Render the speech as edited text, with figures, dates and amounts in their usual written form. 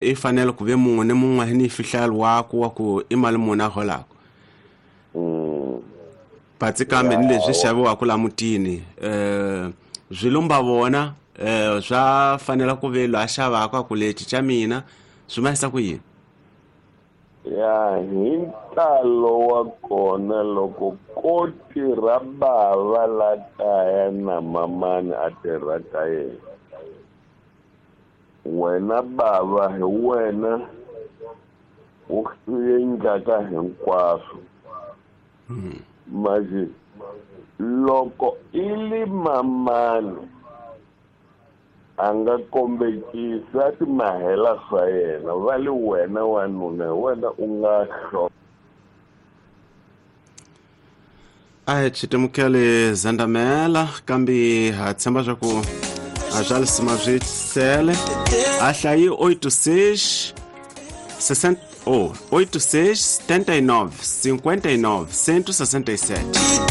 I fanele ku ve mun'we ni mun'we ni fihlelo waku wa ku i mali muni a holaka. Patsi kambe ni leswi xaviwaka la mutini swi lumba vona swa fanela ku ve loyi a xavaka a ku lexi xa mina swi ma ku yini. Ya hi ntalo wa kona loko ko tirha bava la kaya na mamani a tirha ka yena, wena bava hi wena u endlaka hinkwaswo. Manje loko i li mamani a nga kombekisa ti mahela swa yena, va li wena wanuna hi wena u nga hlo. A hi chitimukele zandamela kambe ha tshemba swa ku a swa lisima swi sele a hlayi 86 60 oh 86 79 59 167.